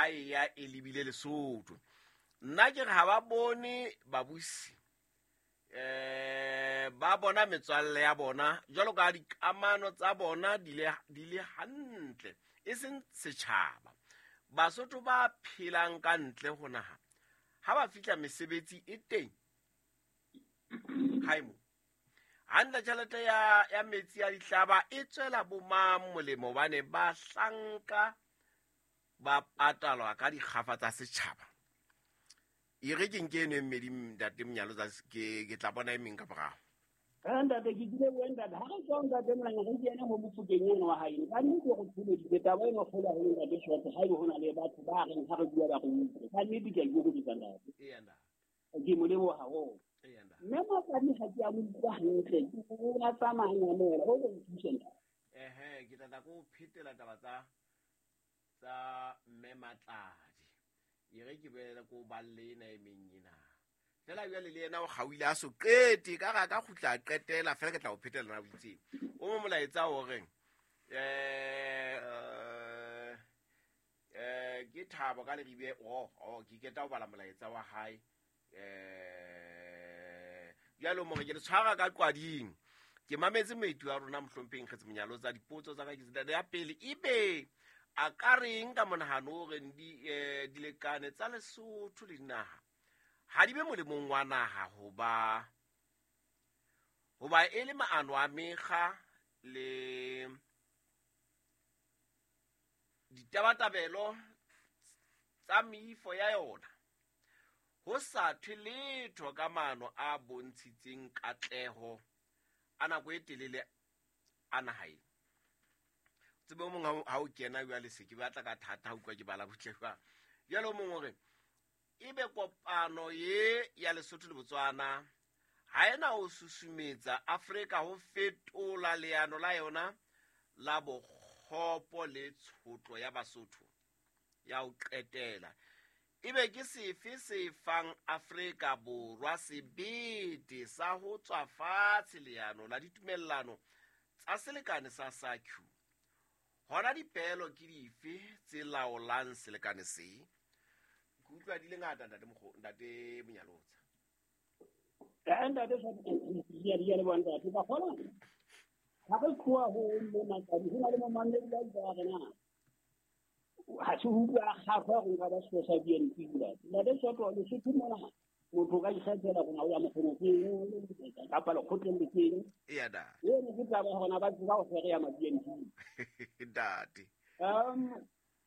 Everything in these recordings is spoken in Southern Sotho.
Ha e ya e lebile Lesotho. Nna ke re ha ba bone babusi, ba bona metswalle ya bona jwalo ka dikamano tsa bona di le hantle, e seng setjhaba. Basotho ba phelang ka ntle ho naha ha ba fihla mesebetsi e teng haimo hantle, tjhelete ya metsi ya dihlaba e tswela bomang molemo, hobane bahlanka ba patalwa ka dikgafa tsa setjhaba. E re ke nke eno e mmedi, ntate Monyalotsa, ke tla bona e meng ka morao. Ntate, ke kile bua ntate, ha re tswa ntate Molanya, re kene ho Mofokeng eno wa hae. Ka nnete re tsholeditse taba eno kgolo haholo ntate Short, ha ebe ho na le batho ba reng ha re bua ba re utlwe. Ka nnete ke a ikokobetsa ntate. Ke mo leboha haholo. Mme Matladi ha ke a mo utlwa hantle, ke o a tsamaya nyamela, o re nthuse ntate. Ke tla tla ko phetela taba tsa mme Matladi. E re ke boele ko balle ena e meng ena. Fela jwale le yena o kgaohile a so qete, ka re a ka kgutla a qetela, fela ke tla o phetela na o itseng. O mo molaetsa o reng, ke Thabo ka Leribe, ke keta ho bala molaetsa wa hae. Jwale mo re ke le tshwara ka qwading. Ke mametse moeti wa rona mohlompheng Kgetsi Monyalotsa, dipotso tsa ka ke tsena. Ya pele, ebe a ka reng ka monahano o reng dilekane tsa Lesotho le dinaha ha di be molemong wa naha hoba e le maano a mekga le ditabatabelo tsa meifo ya yona, ho sa thwe letho ka maano a bontshitseng katleho a nako e telele a naha ena. Tsebe o mong ha o kena jwale se ke batla ka thata ha utlwa ke bala butle jwang. Jwale o mong o re, ebe kopano ye ya Lesotho le Botswana ha ena ho susumetsa Afrika ho fetola leano la yona la bokgopo le tshotlo ya Basotho ya ho qetela. Ebe ke sefe se fang Afrika Borwa sebete sa ho tswa fatshe leano la ditumellano tsa selekane sa SACU? Hona dipeelo ke dife tse laolang selekane se? Ke utlwa di le ngata, ntate Mokgo, ntate Monyalotsa. Ntate, ke a leboha ntate. Ka kgona ha re tloha ho mme Matladi, ho na le momamedi wa itse wa rena. Ha se utlwa a kgahlwa hore nka ba sekolo sa BNP ntate. Ntate Soto, Lesotho mona motho o ka ikgethela hore na o ya mokgonong kapa lekgotleng le feng. Eya, da. Eno ke taba ya hore ba tseba ho fereya ma BNP. Ntate.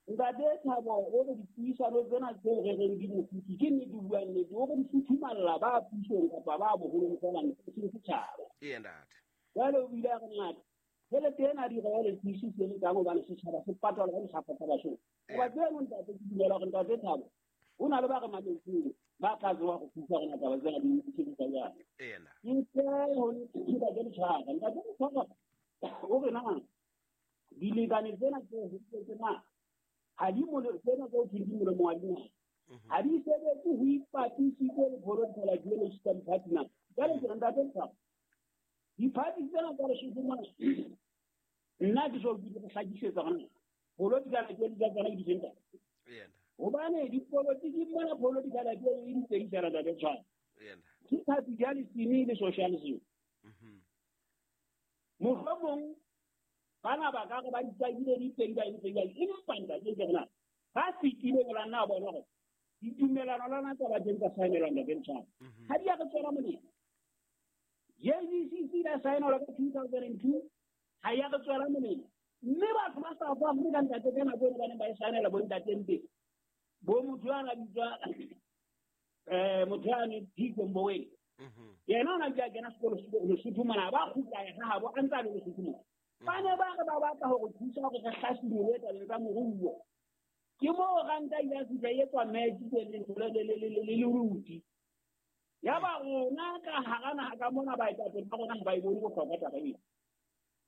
Ntate Thabo, o re dipuisano tsena tse re reng di mofuthu, ke nnete o bua nnete, o re di futhumalla ba pusong kapa ba boholong fela, e seng setjhaba. Eya, ntate. Jwale o bile a re ngata, tjhelete ena di royalties tse le tlang hobane setjhaba se patalwa ka dikgafa tsa basotho. Hoba tseno ntate, ke dumela hore ntate Thabo, ho na le ba re mametseng ba tla tseba go thusa rona taba tsena di sebetsa jwang. Eya, ntate. Ke tle ho ntate Letshwara. Ntate Letshwara o re na dilekane tsena tse ho tsena ha di mole, tsena tse ho thweng di molemo wa dinaha. Ha di sebetse ho ipapisitse le political ideology tsa diphathi na. Jwale ke re ntate Letshwara, diphathi tsena tsa Lesotho mona, nna ke so ke hlakisetsa hore political ideology tsa tsona ke di feng ntate. Hobane dipolotiki mona, political ideology di pedi fela, ntate Letshwara. Ke capitalism le socialism. Mohlomong bana ba ka re ba ditsakile di pedi ba entse jwalo, empa ntate ke rena ba fetile go la nna bona gore ditumelano lona tsa ba teng tsa saenelwa ntate Letshwara. Ha di a re tswela molemo. JVCC la saenelwa ka 2002, ha ya re tswela molemo. Mme batho ba South Africa ntate ka nako eno ba neng ba e saenela bo ntate Mbeki, bo motho ya na bitswa, motho ya ne Tito Mboweni. Yena o na bile a kena sekolo Lesotho mona, ba kgutla ya habo a ntse a le Lesotho mona. Ba ne ba re ba batla hore thusa hore re hlasimolwe tabeng tsa moruo. Ke moo ranta ile ya fihla e etswa match le leruti. Ya ba rona ka hara naha ka mona baetapele ba rona ha ba e bone bohlokwa taba ena.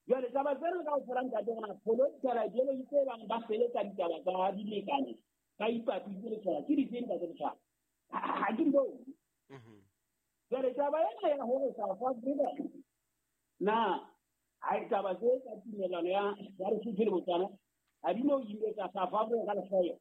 Jwale taba tsena kaofela ntate rona political ideology tse bang ba sebetsa ditaba tsa dilekane ba ipapile le tsona ke dife ntate Letshwara? Ha ke di bone. Jwale taba ena ya hore South Africa na ha e taba tse tsa tumellano ya Lesotho le Botswana ha di no imetsa South Africa ka lehloyo.